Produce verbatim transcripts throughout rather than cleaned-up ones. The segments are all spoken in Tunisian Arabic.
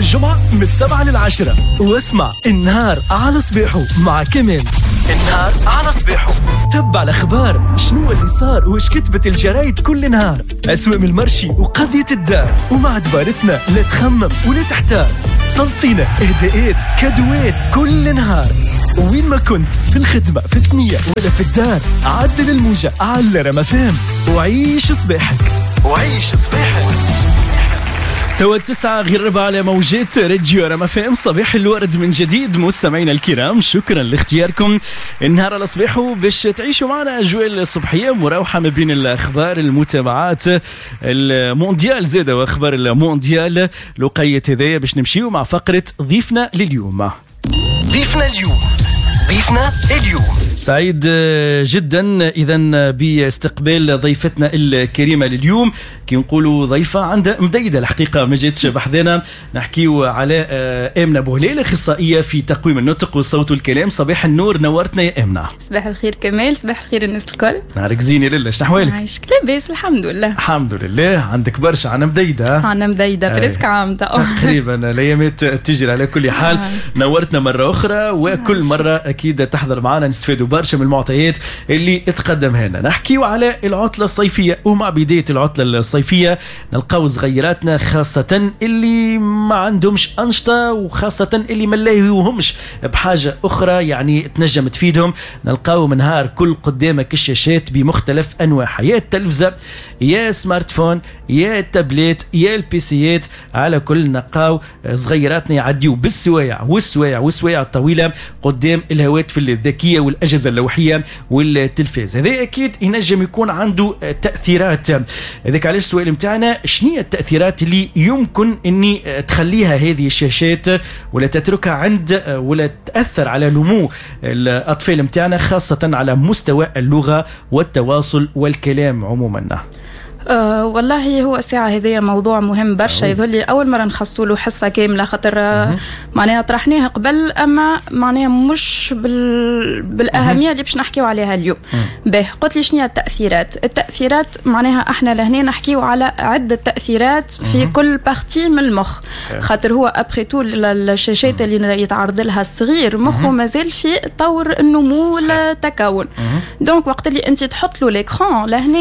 للجمعة من السبعة للعشرة، واسمع النهار على صباحه مع كمال. النهار على صباحه تبع الأخبار، شنو اللي صار وش كتبت الجرايد كل نهار، أسوأ من ال marché وقضية الدار، ومع دبارتنا لا تخمم ولا تحتار. سلطينا إهداءات cadeau ات كل نهار، وين ما كنت في الخدمة في الثنية ولا في الدار، عدل الموجة على رما فهم وعيش صباحك، وعيش صباحك. توا التسعة غير ربع على موجات راديو رما فهم. صباح الورد من جديد مستمعينا الكرام، شكرا لاختياركم النهار على صباحه باش تعيشوا معنا أجواء الصبحية مراوحة ما بين الأخبار، المتابعات، المونديال زادة وأخبار المونديال. لقيت هذايا باش نمشيو مع فقرة ضيفنا لليوم. ضيفنا اليوم، ضيفنا اليوم. سعيد جدا اذا باستقبال ضيفتنا الكريمة لليوم. كي نقولوا ضيفه عندها مديدة الحقيقة ما جاتش بحذانا، نحكيو على امنه بوهليل، اخصائية في تقويم النطق والصوت والكلام. صباح النور، نورتنا يا امنه. صباح الخير كمال، صباح الخير الناس الكل. نهارك زين يا لاله، شنو احوالك؟ عايشك، لاباس الحمد لله. الحمد لله. عندك برشا، عنا مديدة. عنا مديدة presque عام تقريبا، الايامات تجري. على كل حال نورتنا مرة اخرى، وكل مرة اكيد تحضر معنا نستفادوا برشا من المعطيات اللي تقدمها لنا. نحكيو على العطلة الصيفية، ومع بداية العطلة الصيفية نلقاو صغيراتنا خاصة اللي ما عندهمش انشطة، وخاصة اللي ما لاهيوهمش بحاجة اخرى يعني تنجم تفيدهم. نلقاو من نهار كل قدامك الشاشات بمختلف انواعها، يا التلفزة يا smartphone يا التابلت يا ال PC يات. على كل نلقاو صغيراتنا يعديو بالسوايع والسوايع والسوايع الطويلة قدام الهواتف الذكية والاجهزة اللوحيه والتلفاز. هذا اكيد ينجم يكون عنده تاثيرات. هذاك علاش السؤال نتاعنا، شنو هي التاثيرات اللي يمكن اني تخليها هذه الشاشات ولا تتركها عند ولا تاثر على نمو الاطفال نتاعنا، خاصة على مستوى اللغة والتواصل والكلام عموما؟ أه والله هو الساعة هذه موضوع مهم برشا، يظل لي أول مرة نخصصوا له حصة كاملة، خاطر معناها طرحناها قبل أما معناها مش بال... بالأهمية اللي باش نحكيو عليها اليوم. به قلت لي شنو هي التأثيرات؟ التأثيرات معناها احنا لهنا نحكيو على عدة تأثيرات في كل partie من المخ، خاطر هو après tout الشاشات اللي يتعرض لها الصغير مخه مازال في طور النمو والتكون. donc وقت اللي أنت تحط له l'écran لهنا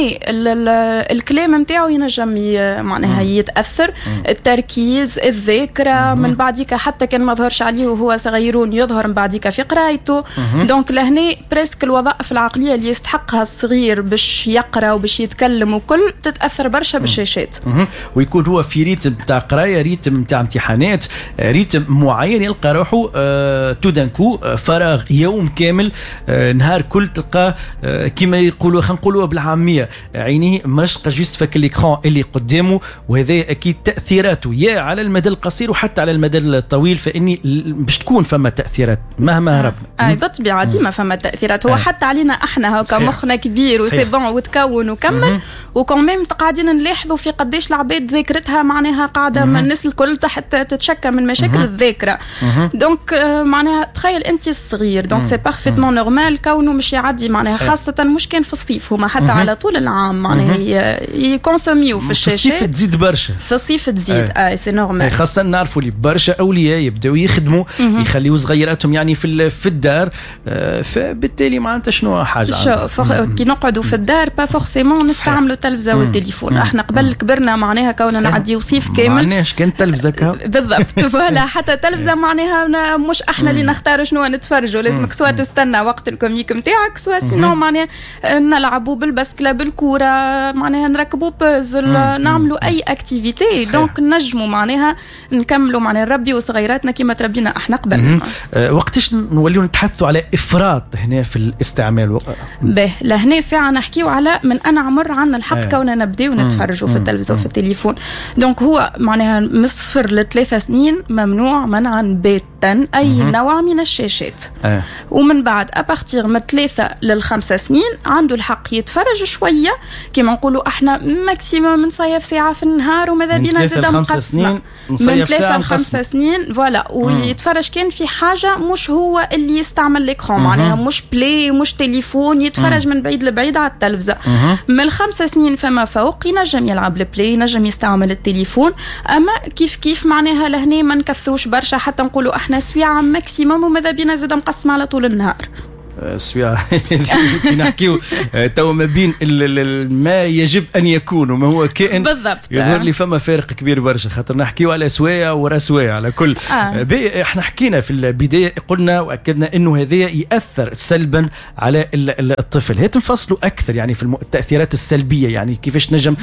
الكلام نتاعو ينجم معناها يتاثر، التركيز، الذاكرة، من بعديك حتى كان ما ظهرش عليه وهو صغيرون يظهر من بعديك في قرايته. donc لهنا presque الوظائف العقلية اللي يستحقها الصغير باش يقرا وباش يتكلم وكل تتاثر برشا بالشاشات. ويكون هو في rythme تاع قرايه، rythme تاع امتحانات، rythme معين، يلقى روحه آه tout d'un coup فراغ يوم كامل، آه نهار كل تلقى آه كما يقولوا، خلينا نقولوا بالعامية، عينيه مرشقه juste فك l'écran اللي قدامه. وهذا اكيد تاثيراته يا على المدى القصير وحتى على المدى الطويل، فاني باش تكون فما تاثيرات مهما هربنا. اي بالطبيعة ديما فما تاثيرات، هو حتى علينا احنا هكا مخنا كبير و c'est bon وتكون وكمل، و quand même قاعدين نلاحظوا في قداش العباد ذاكرتها معناها قاعدة، الناس الكل تحت تتشكى من مشاكل الذاكرة. donc معناها تخيل انت الصغير، donc c'est parfaitement normal كونه مش يعدي معناها، خاصة مش كان في الصيف، هما حتى على طول العام معناها يكونسوميو في الشاشات. في الصيف تزيد برشا، في الصيف تزيد، اي c'est normal. خاصة نعرفوا اللي برشا اولياء يبداو يخدموا، يخليوا صغيراتهم يعني في في الدار، فبالتالي معناتها شنو حاجة شو كي نقعدوا في الدار pas forcément نستعملوا التلفزة والتليفون. احنا قبل كبرنا معناها كونا نعديو صيف كامل ما عندناش كان تلفزه بالضبط، voilà حتى التلفزة معناها مش احنا اللي نختاروا شنو نتفرجوا، لازمك soit تستنى وقت ال comique نتاعك، soit sinon معناها نلعبوا بالبسكله بالكورة، معناها نركبوا بازل، نعملوا اي activité. donc نجموا معناها نكملوا معناها نربيوا صغيراتنا كما تربينا احنا قبل. أه وقتاش نوليو نتحدثوا على افراط هنا في الاستعمال؟ به لهنا ساعة نحكيو على من انا عمر عندنا الحق أه. كوننا نبداو نتفرجوا في التلفزيون وفي التليفون. donc هو معناها من صفر لثلاثة سنين ممنوع منعا باتا اي مم. نوع من الشاشات. أه. ومن بعد à partir من ثلاثة للخمسة سنين عنده الحق يتفرج شوية كما نقولوا احنا احنا maximum نصيف ساعة في النهار، وماذا بينا زاده مقسمة من ثلاثة لخمسة سنين voilà. ويتفرج كان في حاجة مش هو اللي يستعمل l'écran، معناها مش Play مش تليفون، يتفرج من بعيد لبعيد على التلفزة. من الخمسة سنين فما فوق ينجم يلعب ال Play، ينجم يستعمل التليفون، اما كيف كيف معناها لهنا ما نكثروش برشا، حتى نقولوا احنا سويعه maximum، وماذا بينا زاد مقسمة على طول النهار. سويعة كي نحكيو تو ما بين ما يجب ان يكون وما هو كائن بالضبط، يظهر لي فما فارق كبير برشا، خاطر نحكيو على سوايع ورا سوايع على كل. آه. احنا حكينا في البداية قلنا واكدنا انه هذا ياثر سلبا على الطفل، هات نفصلوا اكثر يعني في التاثيرات السلبية، يعني كيفاش نجم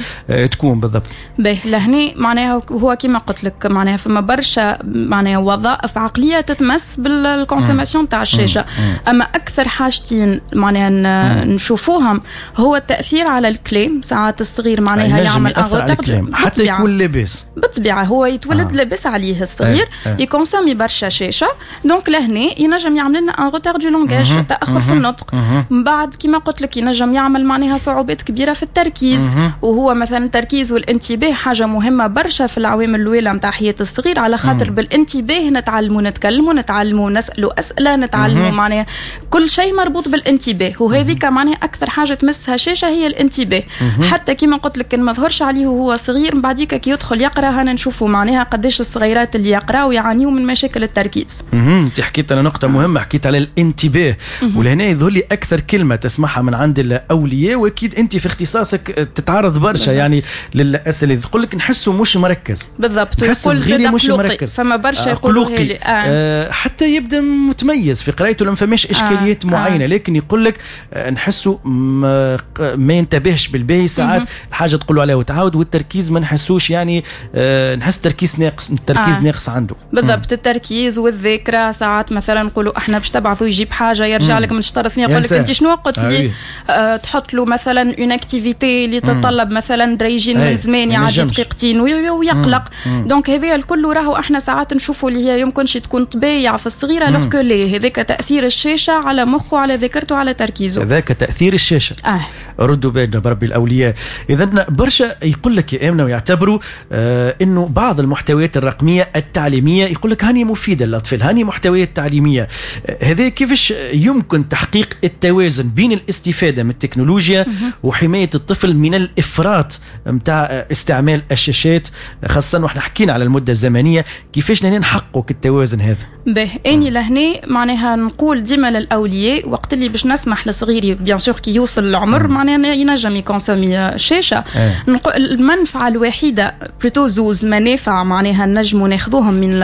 تكون بالضبط. باهي لهني معناها هو كيما قلت لك معناها فما برشا معناها وظائف عقلية تتمس بال consommation تاع الشاشة. اما اكثر حاجتين معناها نشوفوهم هو التاثير على الكلام. ساعات الصغير معناها يعمل un حتى يكون لاباس، بالطبيعة هو يتولد آه. لاباس عليه الصغير، آه. آه. ي consommer برشا شاشة، donc لهنا ينجم يعمل لنا un retard du langage، تاخر في النطق. من بعد كيما قلت لك ينجم يعمل معناها صعوبات كبيرة في التركيز، مه. وهو مثلا التركيز والانتباه حاجة مهمة برشا في العوامل الاولى نتاع حياة الصغير، على خاطر بالانتباه نتعلموا نتكلموا، نتعلموا نسالوا اسئلة، نتعلموا معناها كل شيء مربوط بالانتباه، وهذيك معناها اكثر حاجة تمسها شاشة هي الانتباه. حتى كيما قلت لك ما ظهرش عليه وهو صغير، من بعديك كي يدخل يقرا هنا نشوفوا معناها قداش الصغيرات اللي يقراوا يعانيوا من مشاكل التركيز. انت حكيت على نقطة مهمة، حكيت على الانتباه، ولهنا يظهر لي اكثر كلمة تسمعها من عند الاولياء، واكيد انت في اختصاصك تتعرض برشا يعني للاسئلة، تقول لك نحسه مش مركز. بالضبط، نحس صغيري مش مركز، فما برشا يقولوا لي آه. آه حتى يبدا متميز في قرايته لما فماش اشكاليات آه. معينة، لكن يقول لك نحسه ما, ما ينتبهش بالباهي ساعات، الحاجة تقولوا عليها وتعاود، والتركيز ما نحسوش يعني آه نحس تركيز ناقص، التركيز آه. ناقص عنده. بالضبط، التركيز والذاكرة. ساعات مثلا نقولوا احنا باش تبعثوا يجيب حاجة يرجع لك من شطر ثنيه يقول لك انت شنو قلت لي، آه تحط له مثلا une activité اللي تتطلب مثلا دريجين من زمان يعدي دقيقتين ويقلق. donc هذا الكل راهو احنا ساعات نشوفوا اللي هي يمكنش تكون طبيعة في الصغيرة، alors que لا، هذاك تاثير الشاشة على مخه، على ذاكرته، على تركيزه. هذاك تاثير الشاشة. آه. ردوا بالنا بربي الاولياء. اذا برشا يقول لك يا امنه ويعتبروا آه انه بعض المحتويات الرقمية التعليمية يقول لك هاني مفيدة للاطفال، هاني محتويات تعليمية. هذا كيفاش يمكن تحقيق التوازن بين الاستفادة من التكنولوجيا وحماية الطفل من الافراط نتاع استعمال الشاشات، خاصة واحنا حكينا على المدة الزمنية، كيفاش لهنا نحقق التوازن هذا؟ به اني لهنا معناها نقول ديما للاولياء وقت اللي باش نسمح لصغيري bien sûr كي يوصل العمر معناها ينجم ي consommer شاشة، نقول المنفعة الوحيدة plutôt زوز منافع معناها نجموا ناخذوهم من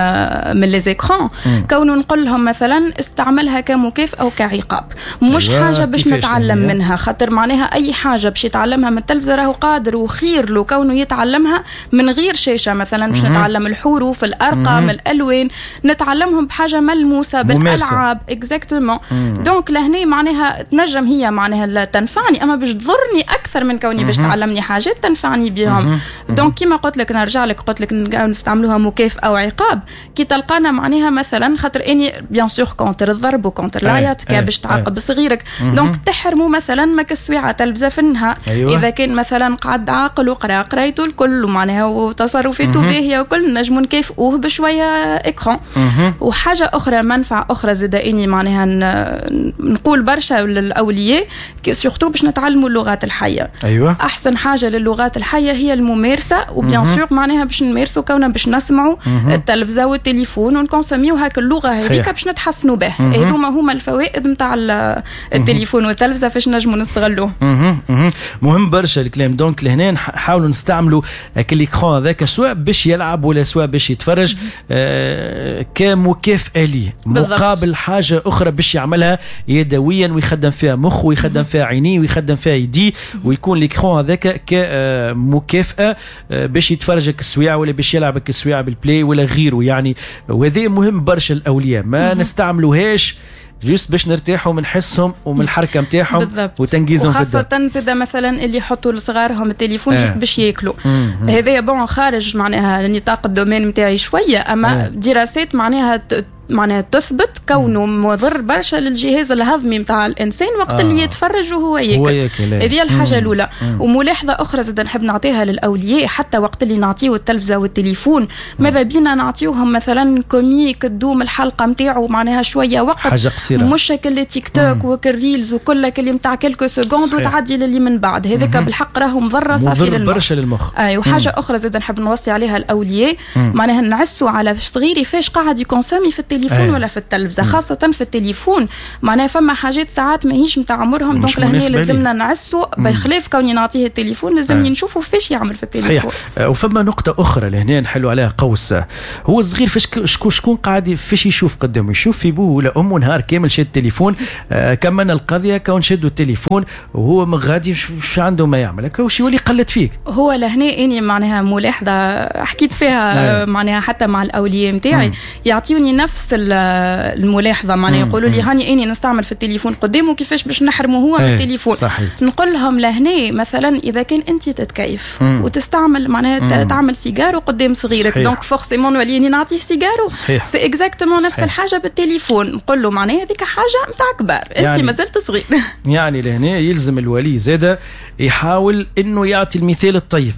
من les écrans، كونه نقول لهم مثلا استعملها كمكافاه او كعقاب، مش أيوة. حاجة باش نتعلم منها، خاطر معناها اي حاجة باش يتعلمها من التلفزة راهو قادر وخير له كونه يتعلمها من غير شاشة. مثلا باش نتعلم الحروف، الارقام، الالوان، نتعلمهم بحاجة ملموسة بالالعاب exactement. donc لهنا معناها تنجم هي معناها تنفعني، اما باش تضرني اكثر من كوني باش تعلمني حاجات تنفعني بهم. donc كيما قلت لك نرجع لك قلت لك نستعملوها مكافاة او عقاب، كي تلقانا معناها مثلا خاطر اني bien sûr contre الضرب و contre العياط كي باش تعاقب صغيرك، donc تحرموا مثلا ما كالسويعه تلفزه في النهار. أيوة. اذا كان مثلا قعد عاقل وقرا قرايته الكل ومعناها وتصرفاته باهيه وكل، نجموا نكافئوه بشوية écran. وحاجه اخرى منفعه اخرى زاد اني معناها نقول برشا للاولياء surtout باش نتعلموا اللغات الحية. ايوه. احسن حاجة للغات الحية هي الممارسة، و bien sûr معناها باش نمارسوا كونا باش نسمعوا التلفزة والتليفون ون consommer يو هاك اللغة هذيك باش نتحسنوا به. هذوما هما الفوائد نتاع التليفون والتلفزه فاش نجموا نستغلوه. مهم برشا الكلام. donc لهنا نحاولوا نستعملوا l'écran هذاك سواء باش يلعب ولا سواء باش يتفرج آه كمكافاه ليه، مقابل حاجة اخرى باش يعملها يدويا ويخدم فيها مخه ويخدم فيها عينيه ويخدم فيها يديه، ويكون l'écran هذاك كمكافاه باش يتفرج السويعه ولا باش يلعب السويعه بال Play ولا غيره يعني. وهذا مهم برشا الاولياء ما نستعملوهاش juste باش نرتاحوا من حسهم ومن الحركة نتاعهم وتنجيزهم. وخاصة زاد مثلا اللي يحطوا لصغارهم التليفون آه. juste باش ياكلوا. هذايا bon خارج معناها نطاق ال domaine نتاعي شوية، اما آه. دراسات معناها معناها تثبت كونه مضر برشا للجهاز الهضمي نتاع الانسان وقت آه. اللي يتفرج وهو ياكل. هذه الحاجة الاولى. وملاحظة اخرى زاد نحب نعطيها للاولياء، حتى وقت اللي نعطيو التلفزة والتليفون ماذا بينا نعطيوهم مثلا comique تدوم الحلقة نتاعو معناها شوية وقت، حاجة قصيره، مش كل تيك توك وكل reels وكل اللي نتاع quelques secondes وتعدي للي من بعد. هذاك بالحق راهو مضرة صافي للمخ، برشا للمخ. اي وحاجه اخرى زاد نحب نوصي عليها الاولياء، معناها نعسوا على صغيري فاش قاعد ي consommer في التليفون أيه. ولا في التلفزه، خاصة في التليفون معناها فما حاجات ساعات ماهيش نتاع عمرهم، donc لهنا لازمنا نعسوا بخلاف كوني نعطيه التليفون لازمني نشوفوا فاش يعمل في التليفون. صحيح. وفما نقطة اخرى لهنا نحلوا عليها قوس، هو الصغير فاش شكون شكون قاعد فاش يشوف قدامه، يشوف في بوه ولا امه نهار كامل شاد التليفون. آه كملنا القضية كون شدوا التليفون وهو من غادي شو عنده ما يعمل، هكا وش يولي قلت فيك. هو لهنا اني معناها ملاحظة حكيت فيها معناها حتى مع الاولياء نتاعي يعطيوني نفس الملاحظه، معناها يقولوا لي هاني اني نستعمل في التليفون قدامه كيفاش باش نحرمه هو من التليفون. صحيح. نقول لهم لهنا مثلا اذا كان انت تتكيف مم. وتستعمل معناها تعمل سيجارو قدام صغيرك، donc forcément نولي نعطيه سيجارو. c'est exactement نفس الحاجة بالتليفون، نقول له معناها هذيك حاجة نتاع كبار، انت يعني مازلت صغير. يعني لهنا يلزم الولي زاده يحاول انه يعطي المثال الطيب.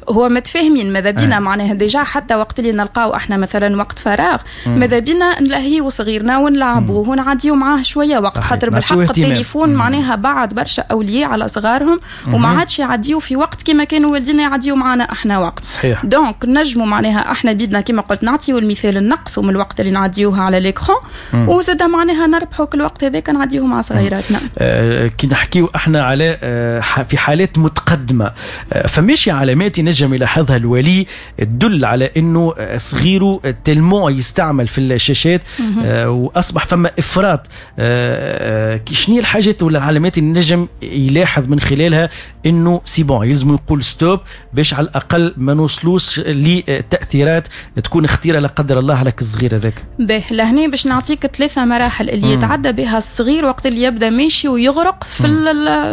هو متفاهمين ماذا بينا معناها déjà حتى وقت اللي نلقاو احنا مثلا وقت فراغ ماذا بينا نلهيو صغيرنا ونلعبوه ونعديو معاه شوية وقت، خاطر بالحق التليفون معناها بعد برشا اولياء على صغارهم وما عادش يعديو في وقت كما كانوا والدينا يعديو معنا احنا وقت. صحيح. donc نجموا معناها احنا بيدنا كما قلت نعطيو المثال نقصوا من الوقت اللي نعديوه على l'écran، وزاد معناها نربحوا كل الوقت هذاك نعديوه مع صغيراتنا. أه كي نحكيو احنا على أه في حالات متقدمة أه فماشي علامات ينجم يلاحظها الولي تدل على انه صغيرة tellement يستعمل في الشاشات آه واصبح فما افراط، آه شنو هي الحاجات ولا العلامات اللي نجم يلاحظ من خلالها انه c'est bon يلزم يقول stop باش على الاقل ما نوصلوش لتاثيرات تكون خطيرة لا قدر الله على الصغير هذاك؟ به لهنا باش نعطيك ثلاثة مراحل اللي يتعدى بها الصغير وقت اللي يبدا ماشي ويغرق في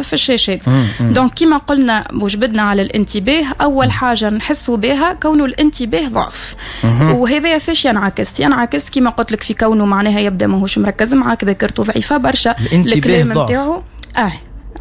في الشاشات. donc كيما قلنا وجبدنا على الانتباه، اول حاجة نحسوا بها كونه الانتباه ضعف، وهذا فاش ينعكس؟ ينعكس كما قلت لك في كونه معناها يبدا ماهوش مركز معاك، ذاكرته ضعيفة برشا، الكلام نتاعو اه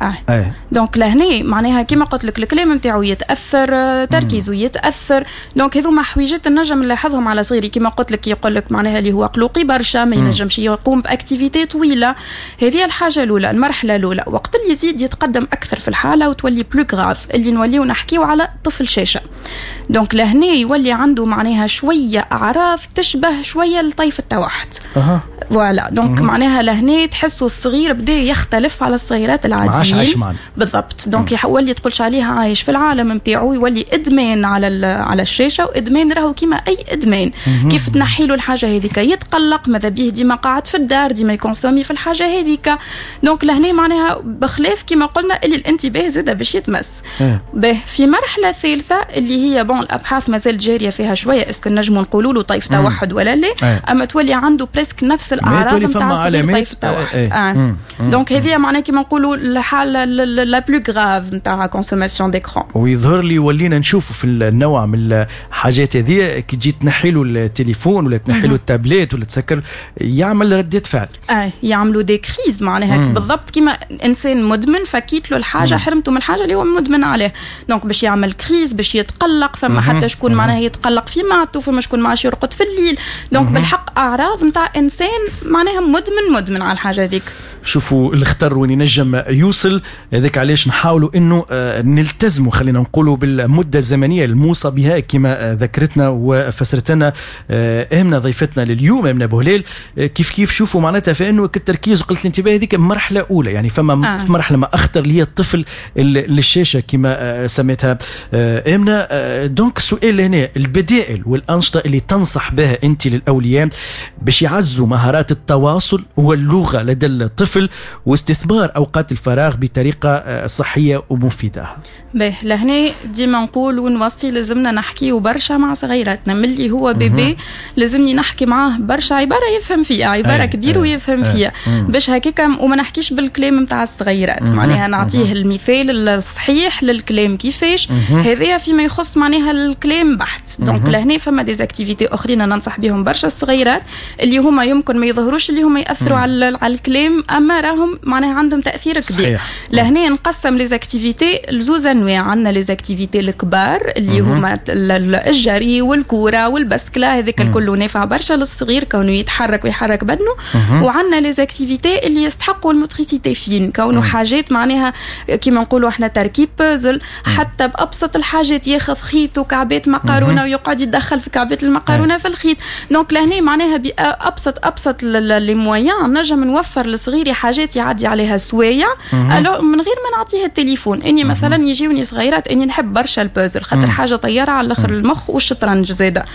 اه, آه. donc لهنا معناها كيما قلت لك الكلام نتاعو يتاثر، تركيزه يتاثر. donc هذوما حويجات نجم نلاحظهم على صغيري، كيما قلت لك يقول لك معناها اللي هو قلوقي برشا، ما ينجمش يقوم ب activité طويلة. هذه الحاجة الاولى، المرحلة الاولى. وقت اللي يزيد يتقدم اكثر في الحالة وتولي plus grave، اللي نوليو نحكيو على طفل شاشه. donc لهنا يولي عنده معناها شوية اعراض تشبه شوية لطيف التوحد. أه. voilà donc معناها لهنا تحسوا الصغير بدا يختلف على الصغيرات العاديين. عايش معنا بالضبط. donc يولي تقولش عليها عايش في العالم نتاعو، يولي ادمان على على الشاشة، وادمان راهو كيما اي ادمان مم. كيف تنحي له الحاجة هذيك يتقلق، ماذا بيه ديما قاعد في الدار، ديما ي consommer في الحاجة هذيك. donc لهنا معناها بخلاف كيما قلنا اللي الانتباه زاد باش يتمس. به في مرحلة ثالثة اللي هي bon الابحاث مازال جارية فيها شوية، est-ce que نجموا نقولوا له طيف توحد ولا لا، اما تولي عنده presque نفس الاعراض نتاع صغير طيف التوحد. آه. donc هذه معناها كيما نقولوا الحالة la plus grave نتاع consommation d'écran. ويظهر لي ولينا نشوفوا في النوع من الحاجات هذه كي تجي تنحي له التليفون ولا تنحي له التابلت ولا تسكر يعمل ردة فعل. اه يعملوا des crises معناها بالضبط كيما انسان مدمن فكيت له الحاجة، حرمته من الحاجة اللي هو مدمن عليه، donc باش يعمل crise، باش يتقلق، فما حتى شكون معناها يتقلق في معدته، فما شكون ما عادش يرقد في الليل. donc بالحق اعراض نتاع انسان معناها مدمن مدمن على الحاجة هذيك. شوفوا الخطر وين ينجم يوصل، هذاك علاش نحاولوا انه نلتزموا خلينا نقولوا بالمدة الزمنية الموصى بها كما ذكرتنا وفسرت لنا امنه ضيفتنا لليوم امنه بوهليل. كيف كيف شوفوا معناتها فانه التركيز وقلة الانتباه هذيك مرحلة اولى، يعني فما آه. مرحلة ما اخطر اللي هي الطفل للشاشه كما سميتها امنه. donc السؤال هنا، البدائل والانشطه اللي تنصح بها انت للاولياء باش يعزوا مهارات التواصل واللغة لدى الطفل الطفل واستثمار اوقات الفراغ بطريقة صحية ومفيده؟ باهي، لهنا ديما نقول ونوصي لازمنا نحكيو برشا مع صغيراتنا ملي هو bébé، لازمني نحكي معاه برشا، عبارة يفهم فيها، عبارة كبير ويفهم فيها، باش هكاك وما نحكيش بالكلام نتاع الصغيرات، معناها نعطيه المثال الصحيح للكلام كيفاش. هذايا فيما يخص معناها الكلام بحت. donc لهنا فما des activités اخرين ننصح بهم برشا الصغيرات اللي هما يمكن ما يظهروش اللي هما ياثروا على على الكلام، اما راهم معناها عندهم تاثير كبير. صحيح. لهنا نقسم les activités لزوز انواع، عندنا les activités الكبار اللي هما الجري والكوره والبسكله، هذاك الكل نافع برشا للصغير كونه يتحرك ويحرك بدنه، وعندنا les activités اللي يستحقوا ال motricité fine، كونه حاجات معناها كيما نقولوا احنا تركيب بازل، حتى بابسط الحاجات ياخذ خيط وكعبات مقارونه ويقعد يدخل في كعبات المقارونه في الخيط. donc لهنا معناها بابسط ابسط les moyens نجم نوفر لصغيري حاجات يعدي عليها سوايع من غير ما نعطيه التليفون. اني مثلا يجيوني صغيرات، اني نحب برشا البازل خاطر حاجة طيارة على الاخر المخ، والشطرنج زاده.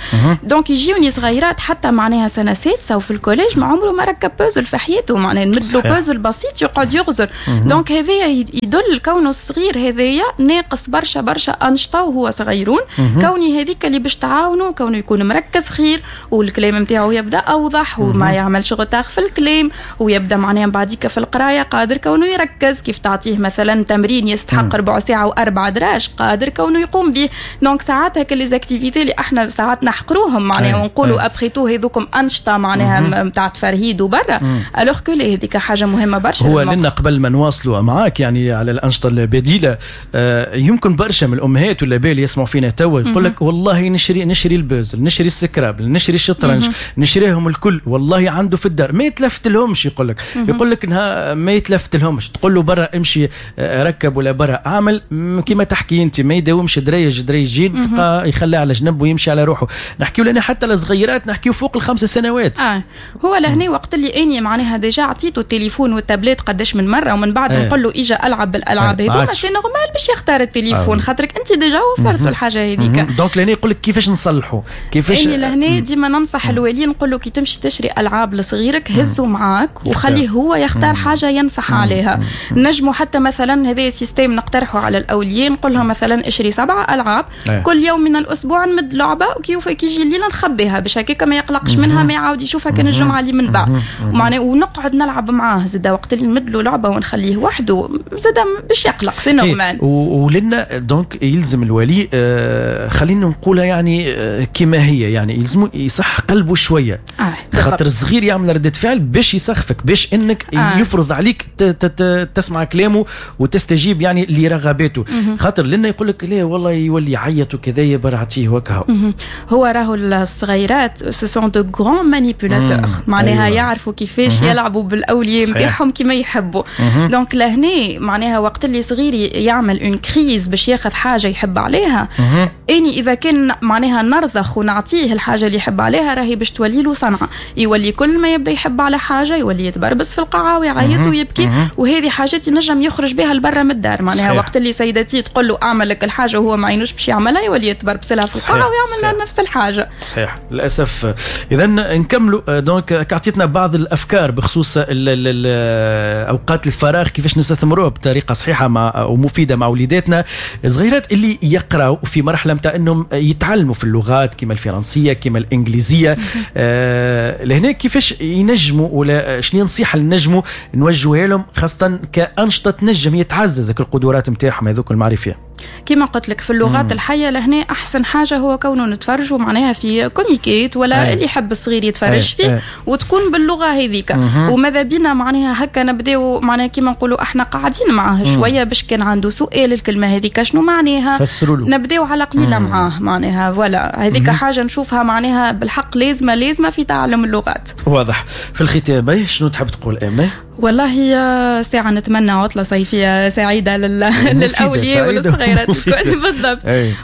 donc يجيوني صغيرات حتى معناها سنة سادسة وفي ال collège ما عمره ما ركب بازل في حياته، معناها نمدلو بازل بسيط يقعد يغزر. donc هذايا يدل كونه الصغير هذايا ناقص برشا برشا انشطة وهو صغيرون، كوني هذيك اللي باش تعاونه كونه يكون مركز خير والكلام نتاعو يبدا اوضح وما يعملش retard في الكلام، ويبدا معناها بعديك في القراية قادر كونه يركز. كيف تعطيه مثلا تمرين يستحق ربع ساعة واربع دراج قادر كونه يقوم به. donc ساعات هكا les activités اللي احنا ساعات نحقروهم معناها ونقولوا après tout هذوكم انشطة معناها نتاع تفرهيد وبرا، alors que هذيك حاجة مهمة برشا. هو لنا قبل ما نواصلوا معاك يعني على الانشطة البديله، آه يمكن برشا من الامهات والاباء اللي يسمعوا فينا توا يقول لك والله نشري نشري البازل، نشري السكرابل، نشري الشطرنج، نشريهم الكل، والله عنده في الدار ما يتلفت لهمش. يقول لك يقول لك انها ما يتلفت لهمش، تقول له برا امشي آه، ركب ولا برا اعمل كما تحكي انت، ما يداومش دريج دريجين يخليه على جنب ويمشي على روحه. نحكيو لنا حتى الصغيرات، نحكيو فوق الخمس سنوات. اه هو لهنا وقت اللي اني معناها déjà عطيته التليفون والتابلت قداش من مرة ومن بعد ايه. نقول له اجا العب بالالعاب هذوما، c'est normal باش يختار التليفون آه. خاطرك انت déjà وفرت له الحاجة هذيك. donc لهنا يقول لك كيفاش نصلحوا كيفاش؟ اني لهنا ديما ننصح الولي نقول له كي تمشي تشري العاب لصغيرك هزوا معاك وخليه هو يختار حاجة ينفح عليها. نجموا حتى مثلا هذا système نقترحه على الاولياء، نقول لهم مثلا اشري سبعة العاب أيه. كل يوم من الاسبوع نمد لعبه، وكيف كي يجي الليل نخبيها باش هكاك ما يقلقش منها، ما يعاود يشوفها كان الجمعة اللي من بعد، معناه ونقعد نلعب معاه زاد. وقت اللي نمد له لعبه ونخليه وحده زاد باش يقلق، c'est normal. ولنا donc يلزم الولي آه خلينا نقولها يعني آه كما هي، يعني يلزم يصح قلبه شوية آه خاطر الصغير يعمل ردة فعل باش يسخفك، باش انك آه. يفرض عليك تسمع كلامه وتستجيب يعني لرغباته، خاطر لنا يقول لك لا والله يولي يعيط وكذا برعتيه وكهو. هو راهو الصغيرات ce sont de grands manipulateurs، معناها أيوة. يعرفوا كيفاش يلعبوا بالاولياء نتاعهم كيما يحبوا. donc لهنا معناها وقت اللي صغيري يعمل une crise باش ياخذ حاجة يحب عليها، اني اذا كان معناها نرضخ ونعطيه الحاجة اللي يحب عليها راهي باش تولي له صنعه، يولي كل ما يبدا يحب على حاجة يولي يتبربس في القاعة ويعيط ويبكي، وهذه حاجات ينجم يخرج بها لبرا من الدار. معناها صحيح. وقت اللي سيدتي تقول له اعمل لك الحاجة وهو ما عينوش باش يعملها يولي يتبربس لها في القاعة ويعمل لها نفس الحاجة. صحيح للاسف. اذا نكملوا donc عطيتنا بعض الافكار بخصوص ال ال ال اوقات الفراغ كيفاش نستثمروها بطريقة صحيحه مع ومفيدة مع وليداتنا صغيرات اللي يقراوا في مرحلة نتاع انهم يتعلموا في اللغات كما الفرنسية كما الانجليزية. آه لهنا كيفاش ينجموا ولا شنو النصيحة اللي نجموا نوجهوها لهم خاصة كانشطه تنجم يتعزز القدرات نتاعهم هذوك المعرفيه؟ كما قلت لك في اللغات مم. الحية لهنا احسن حاجة هو كونه نتفرجوا معناها في كوميكيت ولا أي. اللي يحب الصغير يتفرج أي. فيه أي. وتكون باللغة هذيك، وماذا بينا معناها هكا نبداو معناها كما نقولوا احنا قاعدين معاه شوية باش كان عنده سؤال الكلمة هذيك شنو معناها نبداو على قليله معاه معناها voilà. هذيك حاجة نشوفها معناها بالحق لازمه لازمه في تعلم اللغات. واضح. في الختام شنو تحب تقول امنه؟ والله ساعة نتمنى عطلة صيفية سعيدة لل... للأولياء والصغيرات الكل بالضبط.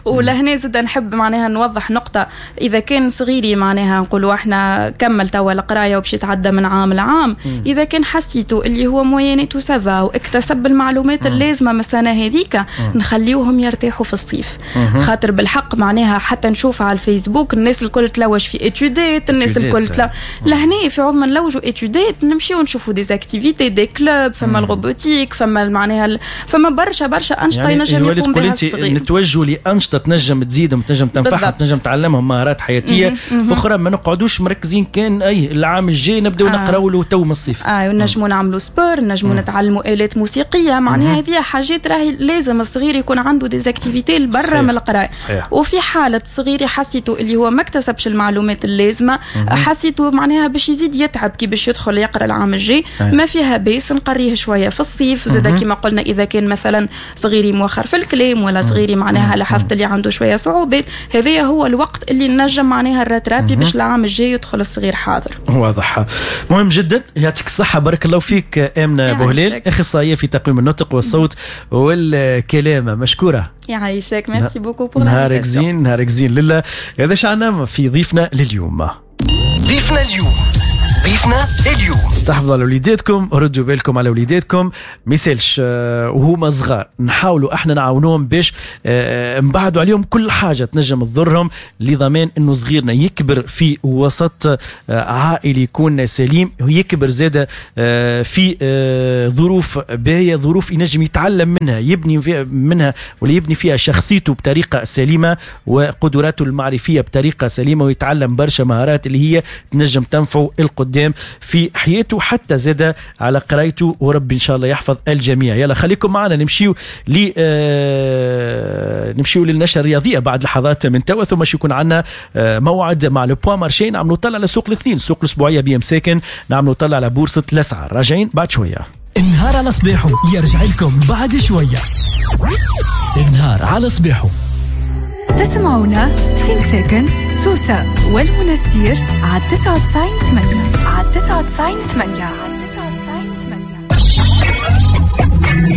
ولهنا زاد نحب معناها نوضح نقطة، إذا كان صغيري معناها نقولوا احنا كمل توا القراية وباش يتعدى من عام لعام، إذا كان حسيتو اللي هو moyenne و ça va واكتسب المعلومات اللازمة من السنة هذيك نخليوهم يرتاحوا في الصيف، خاطر بالحق معناها حتى نشوف على الفيسبوك الناس الكل تلوج في étude ات، الناس الكل تلوج لهنا في عوض ما نلوجوا étude ات نمشيو نشوفوا des activités activités، des clubs، فما ال robotique، فما معناها فما برشا برشا انشطة يعني ينجم يقوم بها الصغير. نتوجهوا لانشطه تنجم تزيدهم، تنجم تنفعهم، تنجم تعلمهم مهارات حياتيه اخرى، ما نقعدوش مركزين كان اي العام الجاي نبداو نقراو له تو من الصيف. اه نجموا نعملوا sport، نجموا نتعلموا الات موسيقيه، معناها هذه حاجات راهي لازم الصغير يكون عنده des activités برا من القراية. وفي حاله صغير حسيته اللي هو ما اكتسبش المعلومات اللازمه، حسيته معناها باش يزيد يتعب كي باش يدخل يقرا العام الجاي، ما فيها باس نقريه شوية في الصيف. زاد كما قلنا اذا كان مثلا صغيري مؤخر في الكلام ولا صغيري معناها لاحظت اللي عنده شوية صعوبات، هذا هو الوقت اللي نجم معناها ال rattraper باش العام الجاي يدخل الصغير حاضر. واضح، مهم جدا. يعطيك الصحه، بارك الله فيك امنه بوهلال، اخصائية في تقويم النطق والصوت والكلام، مشكوره. يعيشك، merci beaucoup pour. نهارك زين، نهارك زين لله. هذا شعنا في ضيفنا لليوم. ضيفنا اليوم، ضيفنا اليوم. استحفظوا على وليداتكم، ردوا بالكم على وليداتكم، ما يسالش وهما صغار نحاولوا احنا نعاونوهم باش نبعدوا عليهم كل حاجة تنجم تضرهم، لضمان انه صغيرنا يكبر في وسط عائلي يكون سليم، ويكبر زاده في ظروف باهيه، ظروف ينجم يتعلم منها، يبني منها ولا يبني فيها شخصيته بطريقة سليمة وقدراته المعرفيه بطريقة سليمة، ويتعلم برشا مهارات اللي هي تنجم تنفعه القدام في حياته، حتى زاد على قرايته، وربي ان شاء الله يحفظ الجميع. يلا خليكم معنا، نمشيو ل آه نمشيو للنشره الرياضية بعد لحظات من توا، ثم شو يكون عندنا آه موعد مع le point marché، نعملوا طلع على سوق الاثنين، السوق الاسبوعية بي ام ساكن، نعملوا طلع على بورصة الاسعار. راجعين بعد شوية. النهار على صباحه يرجع لكم بعد شوية. النهار على صباحه. تسمعونا في مساكن سوسة والمنستير على تسعة وتسعين ثمانية، على تسعة وتسعين ثمانية.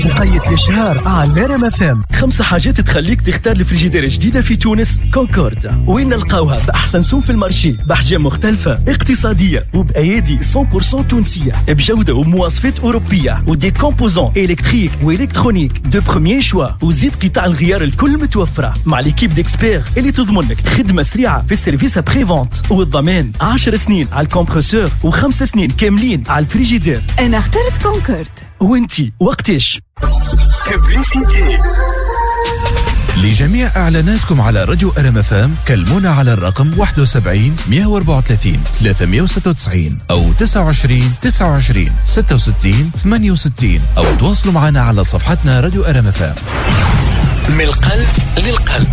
وقيت الإشهار على آر إم إف إم. خمسة حاجات تخليك تختار الفريجيدير الجديدة في تونس كونكورد، وين نلقاوها بأحسن سوم في ال marché، بأحجام مختلفة اقتصادية وبأيادي مية بالمية تونسية، بجودة ومواصفات أوروبية، و des composants électriques و électroniques de premier choix، وزيد قطع الغيار الكل متوفرة مع l'équipe d'experts اللي تضمن لك خدمة سريعة في ال service après-vente، والضمان عشر سنين على ال compresseur وخمس سنين كاملين على الفريجيدير. أنا اخترت كونكورد. وانتي وقتش؟ لجميع إعلاناتكم على راديو آر إم إف إم كلمونا على الرقم واحد وسبعين مئة وأربعة وثلاثين ثلاثمئة وستة وتسعين أو تسعة وعشرين تسعة وعشرين ستة وستين ثمانية وستين، أو تواصلوا معنا على صفحتنا راديو آر إم إف إم. من القلب للقلب.